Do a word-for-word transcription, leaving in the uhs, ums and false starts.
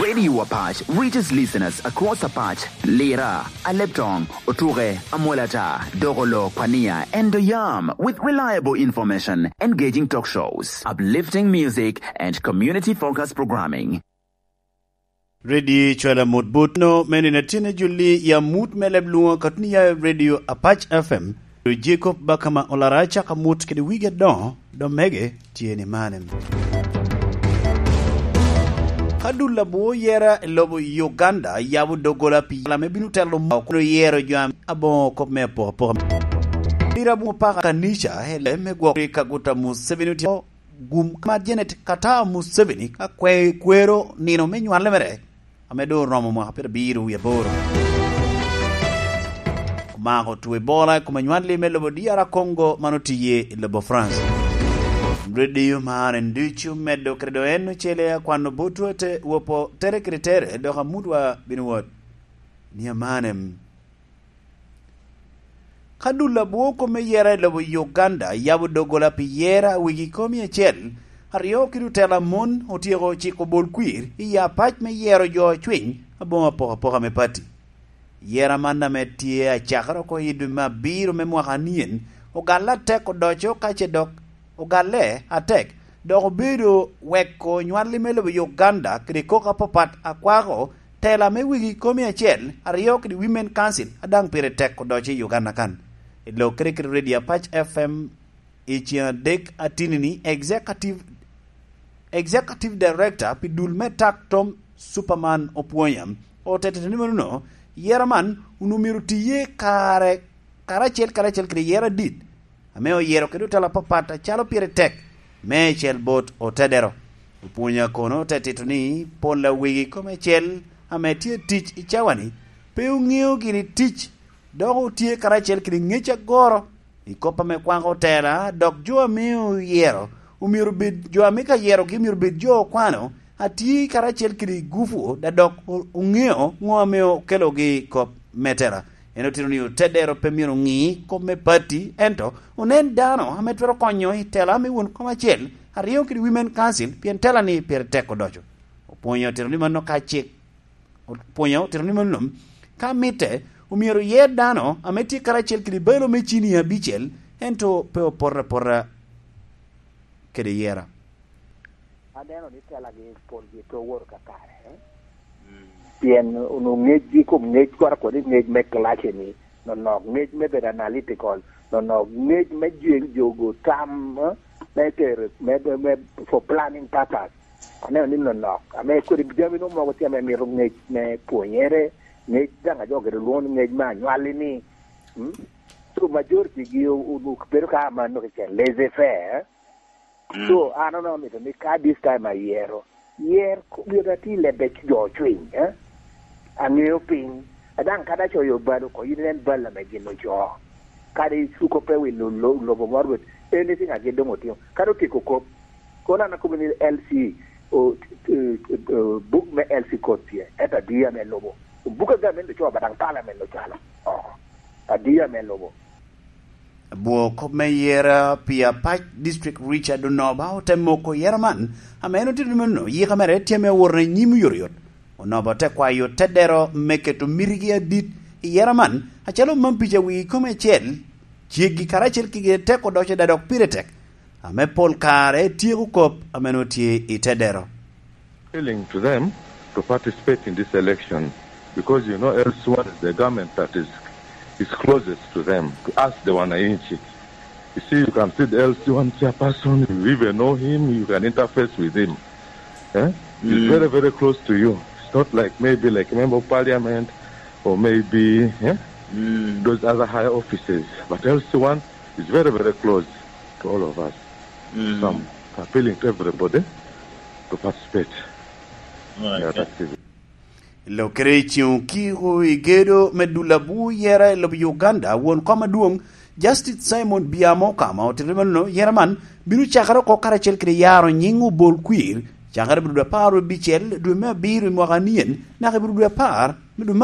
Radio Apac reaches listeners across Apac, Lira, Aleptong, Otuke, Amolata, Dogolo, Kwania, and Doyam with reliable information, engaging talk shows, uplifting music, and community-focused programming. Ready cwala mot bot no, meno in atyen ajulli i amut me leb lwoŋo ka tun iya Radio Apac F M. Jacob Bakama olara caka mot kede wigi adoŋo, dok mege tye ni mane. Ka dul abwo yera i lobo Uganda yabo doggola pi yela me bino telo mo, kun oyero jo ame aboŋo kop me apokapoka. Pira abwo paka kanica, ele me gwok rik aguta Museveni otye gum ka Janet Kata Museveni ka kwe-, kwero nino me nywale mere, ame doŋ oromo mwaka pyerabiro wie aboro. Omako two Ebola i kom anywalli me lobo D R Congo, man otiye i lobo France. Radio man en ducu medo kede doŋ en ocele akwano botwu ate wopo tere kede tere, dok amutwa bino wot. Ni amanem. Ka dul abwo kop me yera i lobo Uganda yabo doggola pi yera wigi komi acel, aryo kede otela mon otyeko ciko bol kwir i apac me yero jo acwiny aboŋo apokapoka me pati. Yera man ame tye acakere oko i dwe me abiro me mwaka anyen, ogalle atek odoco ka ce dok ogalle atek, dok obedo weko nywalli me lobo Uganda kede koko apapat akwako tela me wegi komi acel, aryo kede Women Council, a daŋ pire tek odoco i Uganda kan. I lok kede kede Radio Apac F M i ceŋ adek atinini, Executive, Executive Director pi dul me Tak Tom Superman Opwonya, otetete ni mano, yera man onwoŋo myero tiye kare, karacel, karacel kede yera adit, ame oyero kede otelo apapat acalo pire tek, me cel bot otedero. Opwonya kono te tito ni pol a wegi kome cel ame tye tic i cawani pe oŋeo gini tic, dok otye karacel kede ŋec agoro i kop ame kwako otela, dok jo ame oyero omyero bed, jo ame ka yerogi omyero bed jo okwano, atye karacel kede gupu, da dok o-, oŋeo ŋo ame okelogi i kop me tela. En otito ni otedero pe myero oŋi kop me pati, ento onen dano ame twero konyo i tela me won kom acel, aryo kede Women Council, pien tela-ni pire tek odoco. Opwonyo otito ni mano ka cik, opwonyo otito ni mano ka mitte, omyero oyer dano ame tye karacel kede balo me cini abicel, ento pe opoto apota kede yera. Aneno ni telagi polgi pe owoto kakare, eh? Mm. Pien onwoŋo ŋecgi i kom ŋec, kora kodi ŋec me clash-ni, nonok ŋec me bedo analytical, nonok ŋec me jeng jogo tam, eh, me tero, me, me, me, for planning purpose. Aneno ni nonok. Ame kodi jami nwoŋo mogo tye ame mito ŋec me pwonyere, ŋec daŋ a jo gire lwoŋo ni ŋec me anywalli-ni. Mm? So majority-gi o-, o-, bedo ka amanno keken, laissez faire, eh? Mm. So, an onongo amito ni ka this time ayero, yer ko-, myero ati lebbe jo cwiny, eh? Aŋeo piny. A daŋ kadi acoyo bal oko, in inen bal ame gin ocoo. Kadi cuko pe wi lo-, lo-, lobo moro, but anything a gin doŋ otimo. Kadi otyeko kop. Kono an akobo ni L C, o, t-, t-, eh, buk me L C code tye, ento adi ame lubo? Buk a gamente ocoo ba daŋ pala ame ocwalo oko. Adi ame lubo? Abwo kop me yera pi Apac District Richard Onoba ote moko yera man, ame en otito ni meno yika mere tye me woro i nyim oyotoyot. Onoba ote kwayo tedero me keto mitigi adit i yera man, acalo mam pica wigi kome acel, ceggi karacel kede tek odoco da dok pire tek, ame pol kare tyeko kop ame nwoŋo tye i tedero. Appealing to them to participate in this election because, you know, L C one is the government that is, is closest to them, to us, the wananchi. You see, you can see the L C one chairperson, you even know him, you can interface with him. Eh? He's Mm. very, very close to you. It's not like maybe like a member of parliament or maybe, eh, Mm. those other high offices. But L C one is very, very close to all of us. Mm. So I'm appealing to everybody to participate All right, in that yeah. activity. Lokere i ceŋ okiko i gedo me dul abwo yera i lobo Uganda, won kom adwoŋ, Justice Simon Byam Okama, otito mano, yera man bino cakere oko karacel kede yaro nyiŋ obol kwir, cakere i dwe apar abicel, dwe me abiro i mwaka anyen, naka i dwe apar me dwe me